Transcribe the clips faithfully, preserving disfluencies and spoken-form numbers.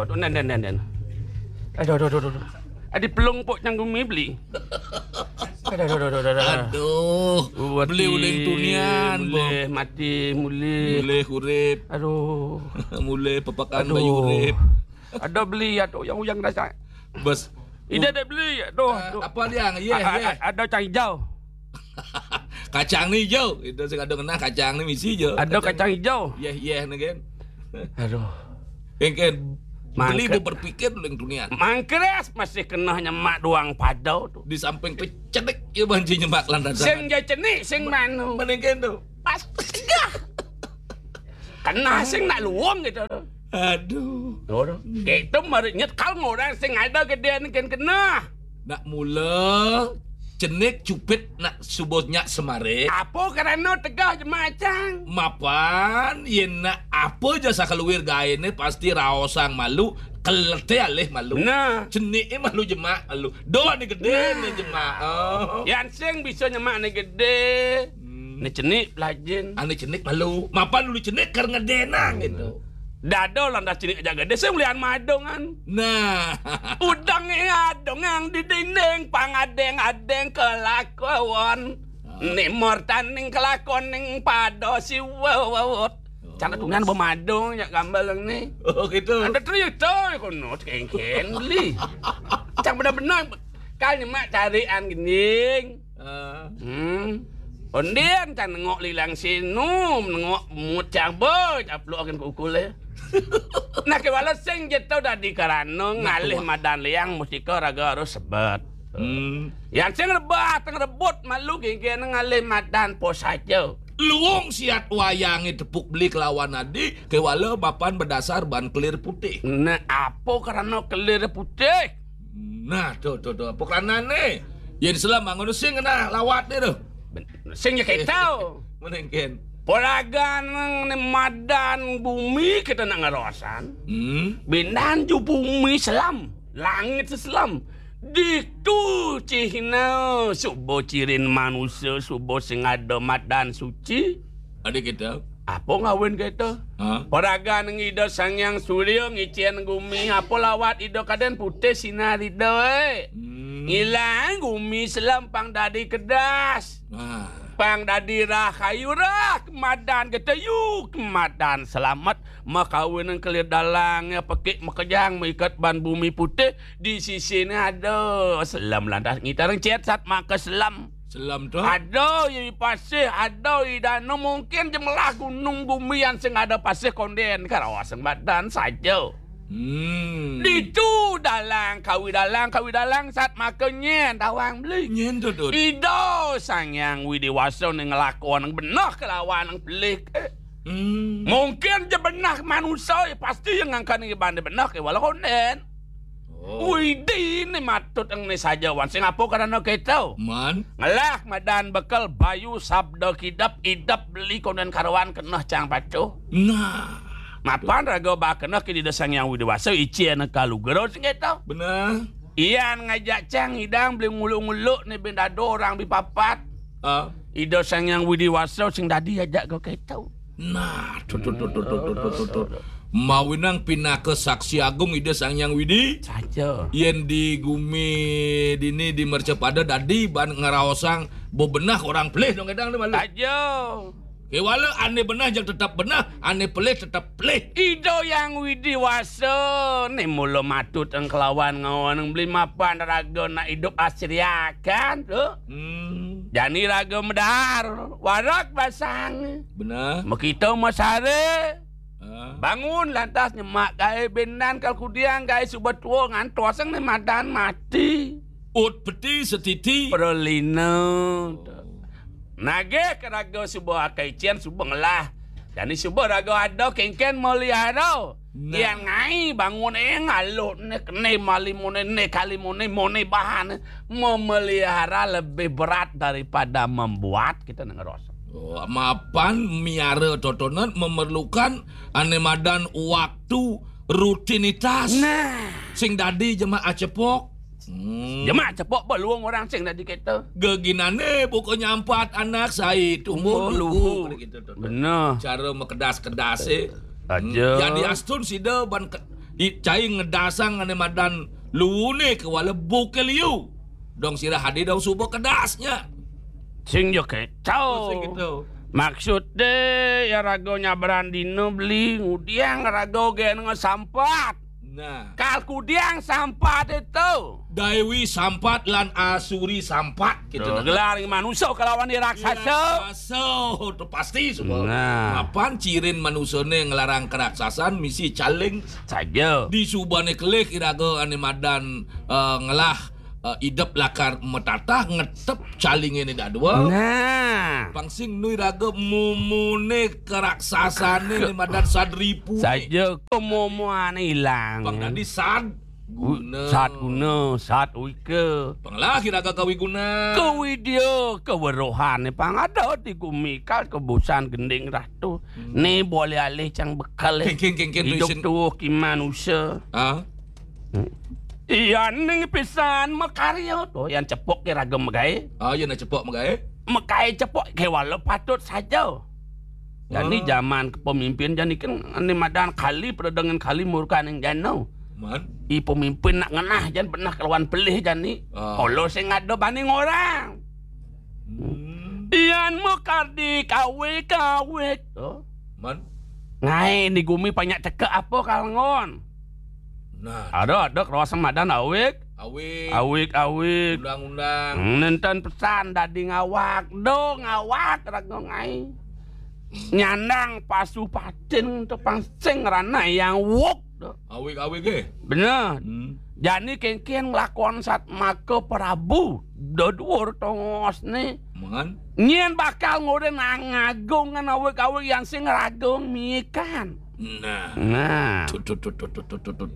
Aduh, nen, nen, nen, nen. Aduh, aduh, aduh, aduh. Adi pelung pok cang gumi beli. Aduh, aduh, aduh, aduh, aduh. Aduh, beli uling tunian, Bong. Mulih mati, mulih. Mulih urip, Aduh. Mulih pepekan Aduh. Bayu urip. Ada beli ya tu yang uyang rasa. Bos, Ida ada beli ya tu. eh, apa dia? Iya, iya. Ada cang hijau. Kacang ni hijau. Itu sing ada kena kacang ni misi je. Ada kacang hijau. Iya, iya ni kan. Aduh. Kan, kan. Mangke- Beli bu berpikir uling tunian. Mangkres masih kena nyemak doang padau tu. Di samping kecenik ya banci nyemak lantaran. Sing ja cenik, sing manu. Mending kan tu. Pas tegah. Kena sing nak luang gitu tu. Aduh. Gitu mari nyet kal ngorang sing ada gede ni kan kena. Nak mula cenik cupit nak subuh nyak semare. Apa kerana tegah jemacang? Mapan yen nak apa je sakaluir gaene pasti raosang malu, kelete alih malu. Nah. Cenik e malu jemak malu. Doa ni gede ni jemak. Oh. Yang sing bisa nyemak ni gede. Hmm. Ni cenik pelajin. Ane cenik malu. Mapan dulu cenik kar ngedenang gitu. Dado lantas cenik aja gede sing ulian madongan. Nah. Udang adongang di dinding pangadeng-adeng kelakuan. Ni mortaning kelakuan ning pada siwewewot. Cara tungan bemadong nya gambar ni. Oh gitu. Ada cerita kono kengken beli. Cang benar-benar kal nyemak carian gending. Ah. Hmm. Ondin kan nengok lilang sinu, nengok mut cabe, caplok akan kukul ya. Nah, kewala sing je tau dadi karano ngalih madan liang mustika raga harus sebet. Hmm. Yang sing rebat, yang rebut malu gege ngalih madan pos aja. Luung siat wayange tepuk beli kelawan adi kewala mapan berdasar ban kelir putih. Nah, apa karano kelir putih? Nah, tuh tuh tuh apa keranane? Yen selam ngono sing kena lawat ni tu. Sing ya ketau. Menengken. Poragan ni madan bumi kita nak ngarosan. Hmm. Bindan ju bumi selam, langit selam. Ditu cihna suba cirin manusia, suba sing ada madan suci. Ada kita. Apa ngawin kita? Ha? Poragan ngida Sang Hyang Surya ngicen gumi, apa lawat ida kaden putih sinar ida eh. Hmm. Ngilang gumi selam pang dadi kedas. Ah. Pang dadi rah kayu rah kemadan geteyu kemadan selamat makawin kelir dalang ya pekik makejang maikat ban bumi putih di sisi ni ada selam lantas ngitarang cet sat maka selam. Selam tu. Ada i pasih, ada i dano mungkin jemelah gunung gumi yang sing ada pasih konden karawa sing badan saja. Hmm. Ditu dalang kawi dalang kawi dalang sat maka nyen tawang beli. Nyen tu tu. Ida Sang Hyang Widi Wasa ning ngelakon nang benah kelawan nang pelik. Eh, Hmm. mungkin je benah manusia ya pasti yang ngangkan nang iban benah ke wala konden. Oh. Widi ni matut eng ni saja wan sing apa karana kita. Man. Ngelah madan bekal bayu sabda kidap idap beli konden karawan kenah cang pacuh. Nah. Mapan raga ba kenah ke dida Sang Hyang Widi Wasa ici anak kalu gero sing kita. Benar. Ian ngajak cang idang beli nguluk-nguluk ni bin dado orang bi papat. Ah. Ida Sang Hyang Widi Wasa sing dadi ajak kau kita. Nah, tu tu tu tu tu tu tu tu. Mawinang pinaka saksi agung Ida Sang Hyang Widi. Saja. Yen di gumi dini di mercepada dadi ban ngeraosang bebenah orang pelih dong kadang ni malu. Saja. Kewala ane benah jang tetap benah, ane pelih tetap pelih. Ida Hyang Widi Wasa ni mula matut eng kelawan ngawan eng beli mapan raga nak idup asriakan tu. Hmm, Jani raga medar, warak basang. benar. Mekita masare. Ah. Bangun lantas nyemak kai benan kal kudiang kai suba tua ngantos eng ni madan mati. Ut peti setiti. Perlina. Nagih ke raga suba akai cian suba ngelah. Jani suba raga ada kengken melihara. Nah. Yang ngai bangun eh ngalut ni kene mali mone ne kali mone mone bahan memelihara lebih berat daripada membuat kita nak ngeros. Oh, mapan miara totonan memerlukan ane madan waktu rutinitas. Nah. Sing dadi jemaah cepok. Hmm. Jemak cepok beluang orang sing dadi kita. Geginane pokoknya empat anak sai tumbuh Tumbuh luhu. luhu. Gitu, tu, tu. Benar. Cara mekedas-kedas eh. Aja. Jadi astun sida ban ke, Cai ngedasang ané madan luuné kéwala buké liu. Dong sira adi dong suba kedasnya. Sing ja kéto. Oh, sing kéto. Maksudé ya raga nyabran dina beli ngudiang raga gén ngesampat. Nah. Kal kudiang sampat itu. Daiwi Sampat lan Asuri Sampat gitu. Tuh, nah. Gelar manusa kalawan raksasa. Raksasa, tuh pasti suba. Nah. Mapan cirin manusané nglarang keraksasan misi caling. Saja. Di subané kelih iraga ané madan, eh, ngelah, eh, idep lakar matatah ngetep calingé né dadua. Nah. Pang sing nu iraga mumuné keraksasané né madan sadripu. Saja kemumuané ilang. Pang dadi sad guna. Sad guna, sad wika. Panglah iraga kawiguna. Kawidya, kaweruhané pang ada di gumi kal kebusan gending ratu. Hmm. Né boleh alih cang bekel. Kéngkén, kéngkén, idup tuisin. Tuh kimanusa. Ah? Hmm. Iya ning pisan makarya to, yan cepok ké raga magaé. Ah, yan cepok magaé. Magaé cepok kéwala patut saja. Jani ah. Jaman pemimpin jani kan ané madan kali pada dengan kali murkaning jana. Man? I pemimpin nak ngenah jan benah kelawan pelih jani. Ah. Kala sing ada bani ngorang. Hmm. Yan makardi kawé-kawé to. Man? Ngaé di gumi banyak cekek apa kalngon. Nah. Ada, ada kerasa madan awik. Awik. Awik, awik. Undang-undang. Hmm, nenten pesan dadi ngawak. Do ngawak raga ngaé. Nyandang pasu patin to pang sing ranah yang wuk. Awik-awik, eh? Bener. Hmm. Jani kéngkén nglakon sat maka Prabu. Daduur tongosné. Man? Nyén bakal ngorin ngagung ngan awik-awik yang sing ragung mikan. Nah. Nah. Tut, tut, tut.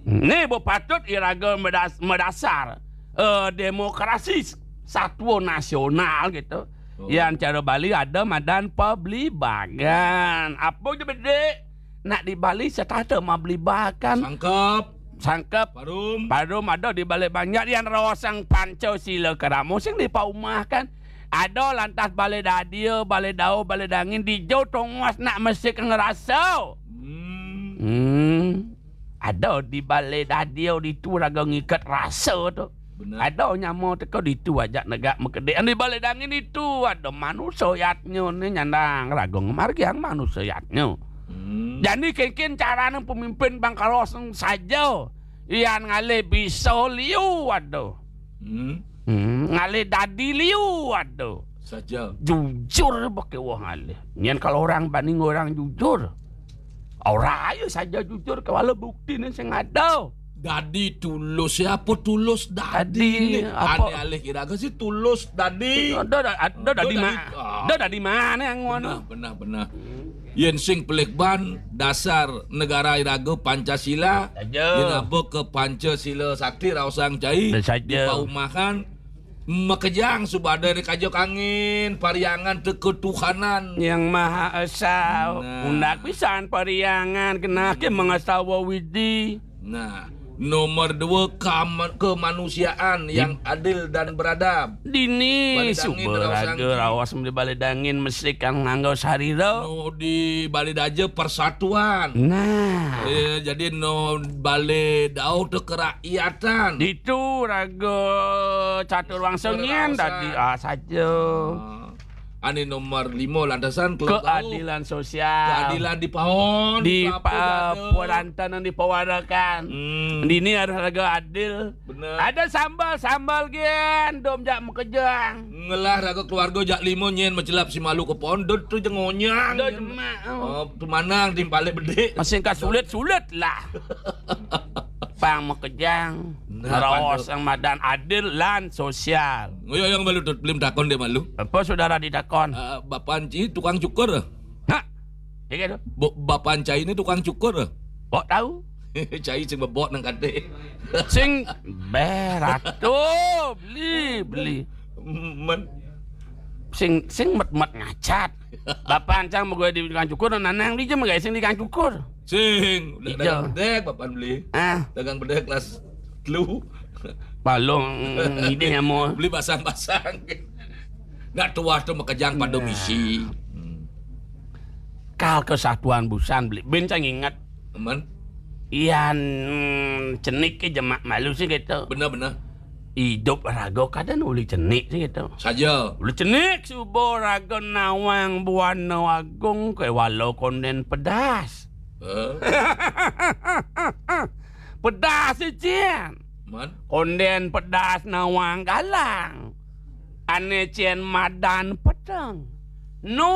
Né bepatut iraga medas-, medasar, eh, demokrasi satwa nasional gitu. Oh. Yang cara Bali ada madan pablibagan. Apa je bedik? Nak di Bali setata mablibagan. Sangkep. Sangkep. Parum. Parum ada di Bali banyak yang rawasang Pancasila keramo sing dipaumahkan. Ada lantas Bali Dadia, Bali Dao, Bali Dangin, dijo tongos nak mesik ngerasa. Hmm. Hmm. Ada di Bali Dadia ditu raga ngiket rasa tu. Benar. Ada nyama teka ditu ajak negak mekedik. Di Bali Dangin ditu ada manusia yatnya ni nyandang raga ngemargiang manusia yatnya. Hmm. Jadi kengkin carane pemimpin bangkalos saja. Ian ngalih bisa liu ada. Hmm. Hmm, ngalih dadi liu ada. Saja. Jujur pakai wah ngalih. Nyen kalau orang banding orang jujur. Ora ayo saja jujur kewala bukti ni sing ada. Dadi tulus ya apa tulus dadi? Dadi, apa? Ane alih kira ke si tulus dadi. Ada, ada, ada dadi ma-, ah. Ada dadi mana yang ngono? Benar, benar, benar. Yen sing pelik ban dasar negara iraga Pancasila. Saja. Yen apa ke Pancasila sakti raosang cai. Saja. Dipaumahan. Makejang subada ri kaja kangin, pariangan teka Tuhanan. Yang Maha Esa, nah. Undak pisan pariangan, kenake mengastawa widi. Nah, nomor dua, kam-, kemanusiaan yang adil dan beradab. Dini, Bale Dangin, suba raga raos mesti Bale Dangin mesti kan nganggo sarira. No, di Bale Daja persatuan. Nah. Eh, jadi no Bale Dao tu kerakyatan. Ditu raga catur wangsa nyen dadi, ah, saja. Ah. Ane nomor lima lantasan keadilan sosial. Keadilan di paon, di pa-, perantanan di pawarakan. Hmm. Dini harus raga adil. Bener. Ada sambal-sambal gen, dom jak makejang. Ngelah raga keluarga jak lima nyen macelap si malu ke paon, dot tu jengonyang. Dot jemak, oh. Oh, tu manang timpale bedik. Masih ka sulit-sulit lah. Pang makejang. Nah, raos yang madan adil lan sosial. Ngoyo yang malu tu, belum takon dia malu. Apa saudara ditakon? Ah, bapan ci tukang cukur. Ha? Iya tu. Bo-, bapan cai ni tukang cukur. Kok tahu? Cai sing bebok nang kate. Sing berat tu, beli, beli. Men. Sing, sing met-met ngacat. Bapan cang megoy di tukang cukur, nanang di je megai sing di tukang cukur. Sing, udah dagang bedek, bapan beli. Ah. Dagang bedek kelas telu. Balong, ide nyamo. Beli basang-basang. Nak tuah tu makejang pada misi. Hmm. Kal kesatuan busan beli. Bencang ingat. Aman. Yan, mm, cenik ke jemak malu sih gitu. Bener-bener. Idup raga kada uli cenik sih gitu. Saja. Uli cenik suba raga nawang buana agung ke wala konden pedas. Eh? Pedas sih, Cin. Man? Konden pedas nawang galang. Ane cen madan peteng. Nu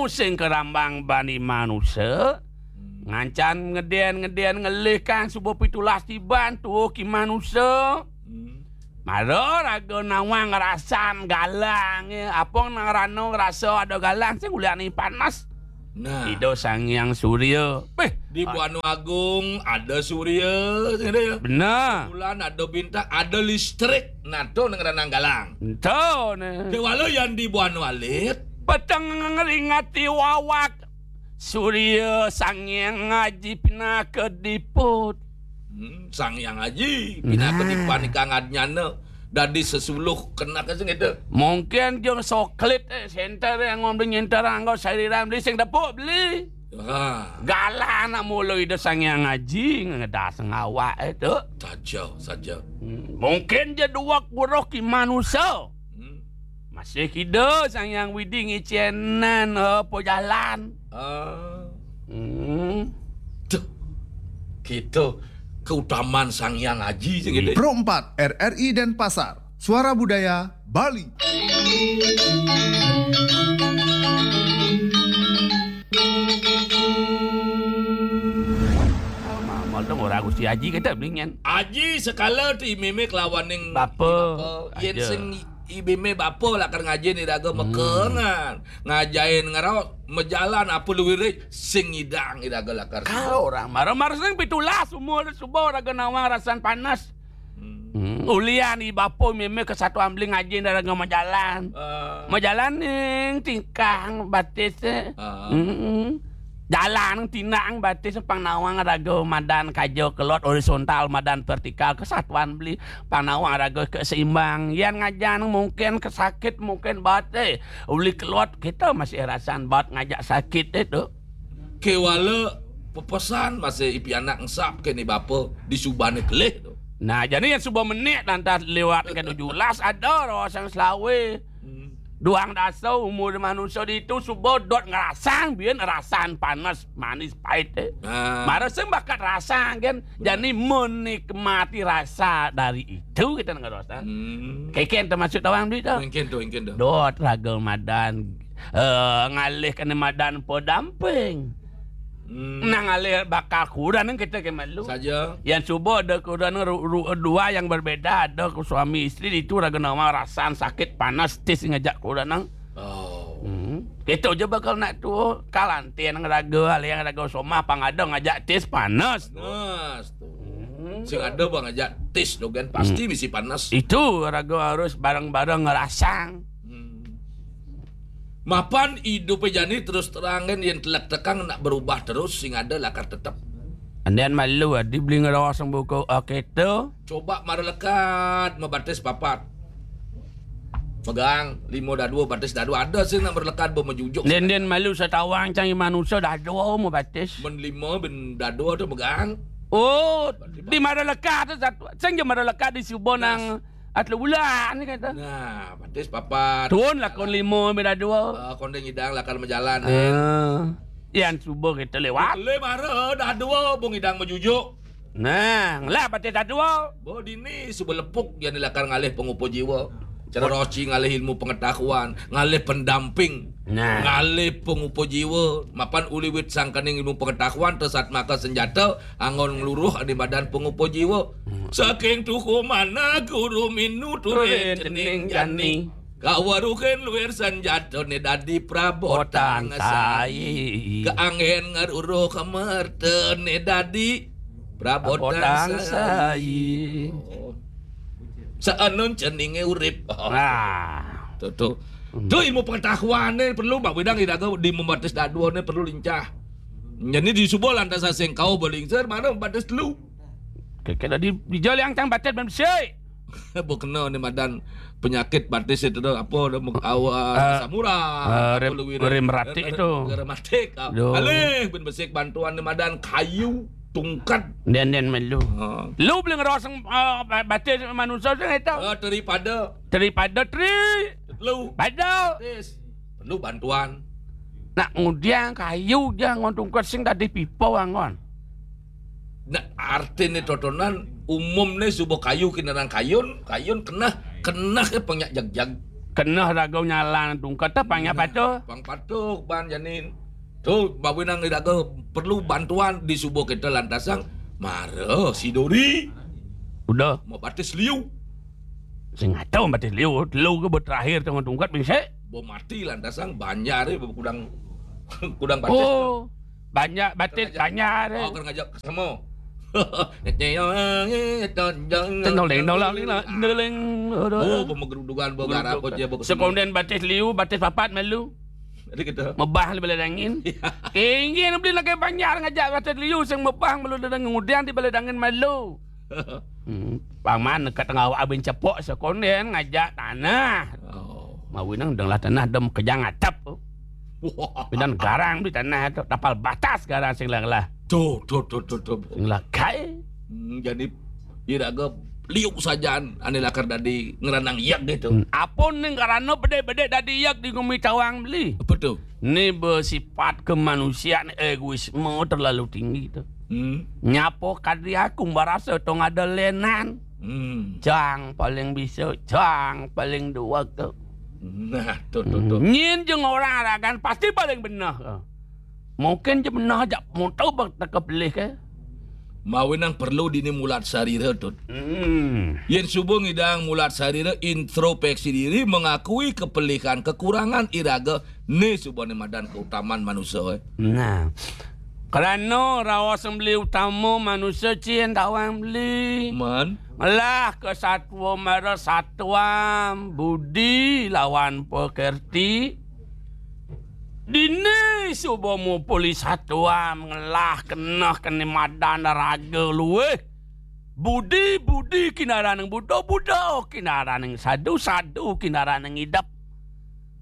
sing kerambang bani manusa. Hmm. Ngancan ngeden-ngeden ngelih kang suba pitulas tiban tuh ki manusa. Hmm. Mara raga nawang ngerasan galang, ya. Apong nang rano ngerasa ada galang sing ulian panas. Nah. Ida Sang Hyang Surya. Peh, di Buana Agung ada surya, ada ya. Benar. Bulan ada bintang, ada listrik. Nah, tu nang ranang galang. Ento ne. Kewala yang di Buana Alit. Peteng ngeringati wawak. Surya Sang Hyang Aji pinaka diput. Hmm, Sang Hyang Aji pinaka Nah. dipan ikang adnyana. Dadi sesuluh kena ke sing itu. Mungkin jong soklit, eh, center yang ngomong nyenter anggo sariran beli sing depuk beli. Ha. Galang anak mula Ida Sang Hyang Aji ngedas ngawak itu. Saja, saja. Hmm, mungkin je dua kuruh ki manusa. Hmm. Masih kida Sang Hyang Widi ngecenan apa jalan. Ah. Hmm. Tuh. Kita keutamaan Sang Hyang Aji sing gitu. Pro empat R R I Denpasar, Suara Budaya Bali. Mamal dong orang Gusti Aji kita blingan. Aji sekala tu imimik lawan ning Bapa. Bapa. Yen Aja. Sing i-, ibime bapa lakar ngaji ni raga Hmm. mekengan. Ngajain ngerau mejalan apa luwiri sing idang iraga lakar. Kalau orang marah-marah sing pitulas umur suba raga nawang rasan panas. Hmm. Hmm, ulian i bapa meme kesatuan beli ngaji raga majalan. Ah. Majalan ning tingkang batis, eh. Ah. Hmm. Jalan tinang batis pang nawang raga madan kaja kelot horizontal madan vertikal kesatuan beli pang nawang raga keseimbang. Yan ngajan mungkin kesakit mungkin batis. Uli kelot kita masih rasan bat ngajak sakit itu. Kewala pepesan masih ipi anak ngesap ke ni bapa di subane kelih tu. Nah, jadi yang suba menik lantas lewat ke tujuh belas ada rawa sang selawe. Hmm. Duang dasa umur manusia di itu suba dot ngerasang biar rasan panas manis pahit, eh. Ah. Mara sing bakat rasang kan. Benar. Jadi menikmati rasa dari itu kita ngerasa. Hmm. Keken termasuk tawang duit tu. Mungkin tu, mungkin tu. Dot raga madan, eh, ngalih kena madan pedamping. Hmm. Nang ngalih bakal kurang nang kita ke malu. Saja. Yang cuba ada kurang ru, ru, dua yang berbeda, ada ku suami isteri itu raga nama rasan sakit panas tis ngajak kurang nang. Oh. Hmm. Kita je bakal nak tu kalantin raga, alih yang raga somah pang ada ngajak tis panas tu. Panas tu. Hmm. Sing ada bang ngajak tis tu kan pasti Hmm. misi panas. Itu raga harus bareng-bareng ngerasang. Hmm. Mapan idup jani terus terang kan yang telak tekang nak berubah terus sing ada lakar tetap. Andian malu adi beli ngerasang buku, ah, kita. Coba mara lekat mabatis papat. Megang lima dadua batis dadua ada sih nak berlekat bermejujuk. Andian malu setawang cang manusia dadua mau batis. Men lima ben dadua tu megang. Oh, di mara lekat tu satu. Sing je mara lekat di suba Nah. nang atlu bulan ni kata. Nah, batis papat. Tuan lakon lima ben dadua. Ah, kondeng idang lakar majalan ni. Ah. Yan suba kita lewat. Le mara dadua bung idang mejujuk. Nah, lah batis dadua. Bo dini suba lepuk yang lakar ngalih pengupa jiwa. Cara roci ngalih ilmu pengetahuan, ngalih pendamping, Nah. ngalih pengupa jiwa. Mapan uliwit sangkaning ilmu pengetahuan tesat maka senjata anggon ngeluruh di badan pengupa jiwa. Hmm. Saking tuhu mana guru minu turin Turin cening cening jani. jani. Kawaruhin luir senjata ne dadi prabotan Botan sai. sai. Keanggen ngeruruh kemerta ne dadi prabotan Prabotan sai. sai. Oh. Saanun ceninge urip. Nah. Tu, tu. Hmm. Tu ilmu pengetahuan ni perlu bak bidang iraga di membatis dadua ni perlu lincah. Jadi di suba lantas asing kau berlingsir mana membatis telu. Keke tadi di jol yang cang batis ben besik. Bo kena ni madan penyakit batis itu tu apa tu, muk-, awa, Eh, asam urat, eh, apa rem-, lu wirid. rematik Re-, itu. Rematik. Ah, Duh. Alih ben besik bantuan ni madan kayu. tungkat. Dén-dén melu. Ha. Lu beli ngeroseng, eh, ba-, batis manusia sing itu. Eh, daripada. Daripada tri. Lu. Pada. Batis. Perlu bantuan. Nak ngudiang kayu ja ngon tungkat sing dadi pipa anggon. Nah, artine totonan umumne suba kayu kinaran kayun, kayun keneh, keneh ke pang nyak jagjag. Keneh raga nyalang tungkat ta pang nyak patuh. Pang patuh ban janin. Tu, mawinan iraga perlu bantuan di suba kita lantasang mara sidori. Udah. Mau batis liu. Sing ada batis liu, telu ke terakhir tengah tungkat bisa. Bo mati lantasang banjar eh, kudang, kudang batis. Oh, banyak batis banjar eh. Oh, kena ngajak sama. Tendol, tendol, tendol, tendol. Oh, pemegerudukan, bo garap, bo je, bo. Sekonden batis liu, batis papat malu. Jadi kita. Mebah le bala dangin. Tinggi beli lagi banjar ngajak batis liu, sing mebah malu dangin, ngudiang di bala dangin malu. Hmm, paman ke tengah awak abin cepok sekonden ngajak tanah. Oh. Mawi nang denglah tanah dem kejang atap. Wah. Pidan garang di tanah tu, tapal batas garang sing lah. Tu, tu, tu, tu, tu. Sing lah kai. Hmm, jadi iraga liu sajaan ane lakar dadi ngeranang yak gitu. Hmm, apa ning karana bedek-bedek dadi yak di gumi tawang beli? Apa tu? Ni bersifat kemanusiaan egoisme terlalu tinggi tu. Hmm. Nyapa kadi aku merasa tong ada lenan. Hmm. Cang paling bisa, cang paling dua tu. Nah, tu, tu, tu. Hmm. Nyin jeng orang ragan pasti paling benar. Mungkin je benar jak moto bak teka pelih ke. Mawinang perlu dini mulat sarira, Tut. Hmm. Yen suba ngidang mulat sarira, introspeksi diri, mengakui kepelihan, kekurangan iraga, ne suba ne madan keutaman manusa, eh. Nah. Krana raos beli utama manusa cin tawang beli. Man. Ngelah ke satwa mara satwa, budi lawan pekerti. Dini suba mupuli satwa ngelah keneh kene madan raga luih. Budi, budi kinaraning Buddha, Buddha kinaraning sadu, sadu kinaraning idep.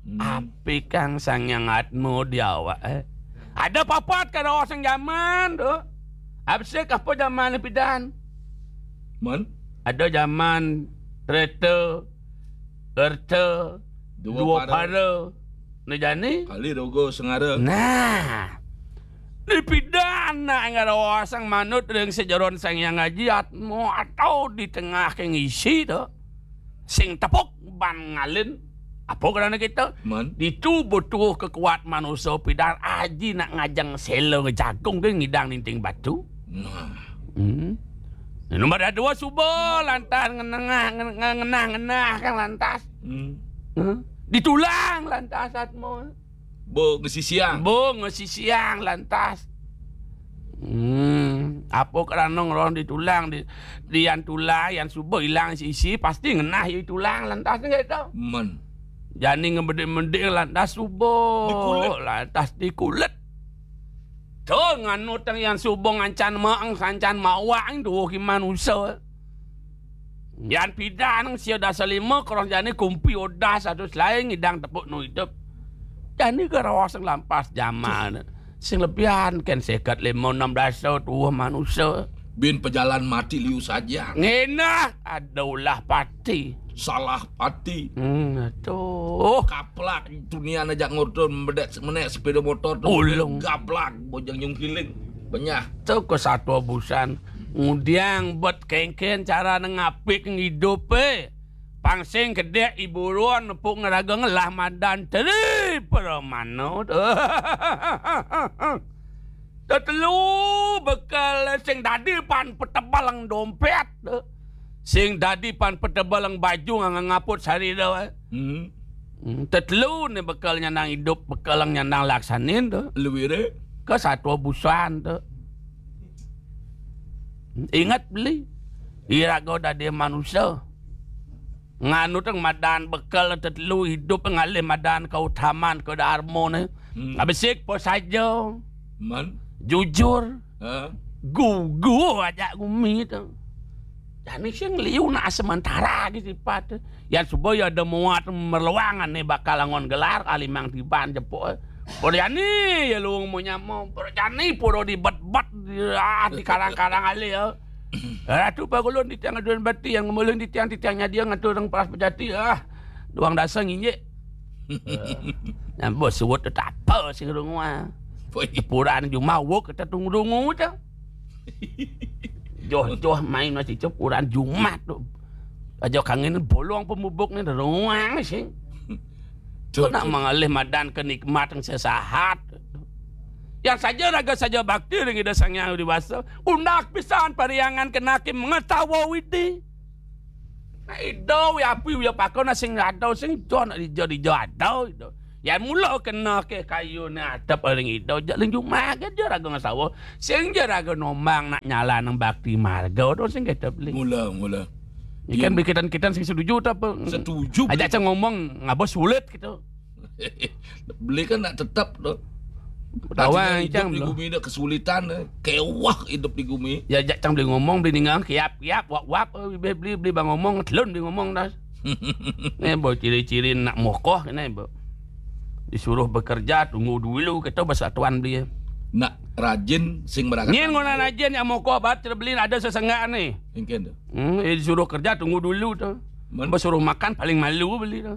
Hmm. Api kang Sang Hyang Atma di awak, eh. Ada papat kada oseng jaman tu. Apa sih apa jaman ni pidan? Man? Ada jaman Treta, Erta, Dua Dua Para. Para. Ni jani? Kali Rogo Sengara. Nah. Di pidan nak ngara oseng manut ring sejeron Sang Hyang Aji Atma atau di tengah ke ngisi tu. Sing tepuk ban ngalin. Apa kerana kita? Man. Ditu butuh kekuat manusia pidan aji nak ngajeng sela ngejagung ke ngidang ninting batu. Nah. Hmm. Nombor dua suba lantas ngenengah, ngen-, ngenah, ngenah kan lantas. Hmm. Huh? Ditulang lantas atma. Bo ngesisiang. Bo ngesisiang lantas. Hmm, apa kerana ngeron ditulang di, di yan tulang, yan suba ilang sisi, pasti ngenah ya tulang lantas ni kata. Men. Jani ngebedik-medik lantas suba. Dikulit. Lantas dikulit. Tu nganut yang yan suba ngancan maang, sancan mawak tu ki manusia. Yan pidan sia dasa lima, krong jani kumpi odah satu selai ngidang tepuk nu idup. Jani ke rawa sing lampas jaman. Sing lebihan ken seket lima enam dasa tuah manusia. Bin pejalan mati liu saja. Ngenah ada ulah pati. Salah pati. Hmm, tu. Kaplak dunia aja ngurtun medek menek sepeda motor tu. Ulung. Gablak bojang nyungkiling. Benyah. Tu ke satwa busan. Ngudiang bet kengken cara nengapik ngidup eh. Pang sing kedek iburon nepuk ngeraga ngelah madan teri peramana tu. Tetelu bekal sing dadi pan petebal ang dompet tu. Sing dadi pan petebal ang baju ngang ngaput sari tu. Hmm. Hmm, tetelu ni bekal nyandang idup, bekal ang nyandang laksanin tu. Luire? Ke satwa busan tu. Ingat beli. Iraga dadi manusia. Nganu teng madan bekal tetelu idup ngalih madan keutaman ke darma ni. Hmm. Abisik po saja. Man? Jujur. Ha? Gugu aja gumi tu. Jani sing liu nak sementara lagi sifat tu. Yang suba ya ada muat merluangan ni bakal angon gelar kalimang tiban jepuk. Pura jani ya luung mo nyamo. Pura jani pura dibet-bet, ah, dikarang-karang alih ya. Ratu pagulun titiang aduan bati, yang ngemulun titiang, titiang nyadia ngatur ring peras bejati, ah. Duang dasa nginjek. Nyambo suut tetapa sing rungu, ah. Puraan jumah wuk kita tunggu-tunggu tu. Joh-joh main masih cep puraan jumah tu. Aja kangen bolong pemubuk ni ruang sing. Tu nak mengalih madan ke nikmat yang sesahat. Yang saja raga saja bakti ring Ida Sang Hyang Widi Wasa, undak pisan pariangan kenake mengetawa widi. Nah, Ida wi api wi apaka, nah, sing ada sing jo nak dija-dija ada Ida. Yan mula kena ke kayu ni atep ring Ida, ja ring jumah ke ja raga ngasawa. Sing ja raga nombang nak nyalanang bakti marga tu sing kita beli. Mula, mula. Ikan beli kitan-kitan sing setuju tu apa? Setuju. Ajak cang ngomong ngaba sulit gitu. Beli kan nak tetap tu. Tawang. Artinya hidup di gumi ni kesulitan, eh. Kewah hidup di gumi. Ya, jak cang beli ngomong, beli ningang, kiap-kiap, wap-wap, eh, beli, beli, beli bang ngomong, telun beli ngomong dah. Ni, bo, ciri-ciri nak mokoh ni, bo. Disuruh bekerja, tunggu dulu, kita bersatuan beli. Nak rajin, sing merakat. Nyin ngona rajin, yang mokoh bat, kita beli ada sesenggak ni. Mungkin tu. Hmm, eh, disuruh kerja, tunggu dulu tu. Besuruh makan, paling malu beli tu.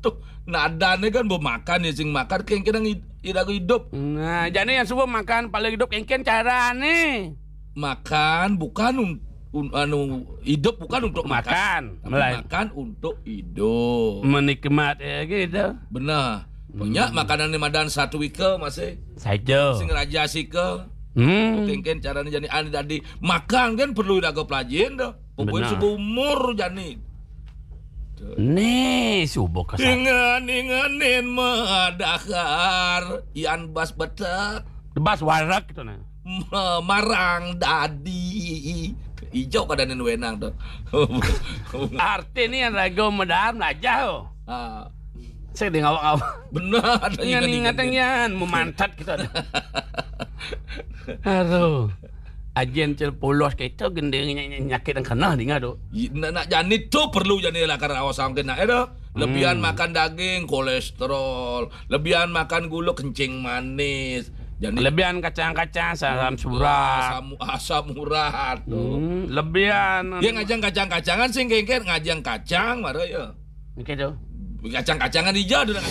Tu, nadane kan bo makan ya, sing makan kengken iraga hidup. Nah, jane yang suba makan paling hidup kengken carane. Makan bukan un, un, anu, hidup bukan untuk makan, makan, tapi melain makan untuk hidup. Menikmat ya gitu. Benar. Punya makanan ni madan satu ika masih. Saja. Sing raja sika. Hmm. Kengken carane jani ane dadi makan kan perlu iraga pelajin tu. Pokoknya seumur jani. Ni suba kasar. Ingan-inganin madahar, yan bas betek. Bas warek gitu nah. Marang dadi. Ijo kadane wenang tu. Arti ni yang raga medar melajah tu. Ah. Saya di ngawak-ngawak. Benar. Ingat-ingat dengan memantat kita ada. Aduh. Ajen cel polos kita gending nyakit yang kena dengar tu. Nak, nak jani tu perlu jani lakar awas angkin nak ada. Lebihan makan daging, kolesterol. Lebihan makan gula, kencing manis. Jani lebihan kacang-kacang, asam surat. Asam, asam urat tu. Hmm, lebihan. Dia ngajang kacang-kacangan sing kengken ngajang kacang mara ya. Okey tu. Kacang-kacangan hijau tu nak.